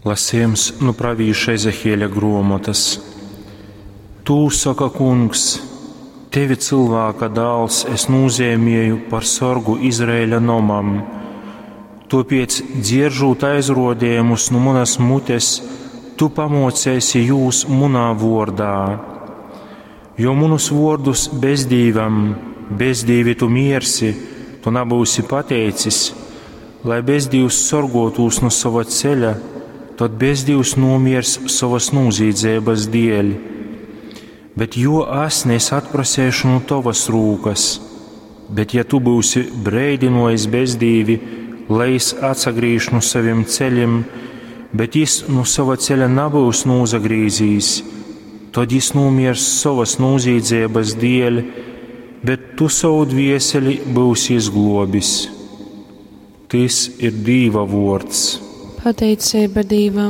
Lasejums nu pravīša Ezehieļa gruomotys. Tū soka Kungs, Tevi, cylvāka dāls, es nūzeimieju par sorgu Izraeļa nomam. Tuopiec, dzieržūt aizruodejumus nu munas mutes, tu pamuoceisi jūs munā vuordā. Jo munus vuordus bezdīvam, bezdīvi tu miersi, tu nabyusi pateicis, lai bezdīvs sorguotūs nu sova ceļa, tod bezdīvs nūmiers sovas nūzīdzeibys dieļ. Bet juo asni es atpraseišu nu tovas rūkas. Bet ja tu byusi breidynuojis bezdīvi, lai jis atsagrīž nu sovim celim, bet jis nu sova ceļa nabyus nūsagrīzīs, tod jis nūmiers sovas nūzīdzeibys dieļ, bet tu sovu dvieseli byusi izgluobis. Tys ir Dīva vuords. Pateiceiba Dīvam.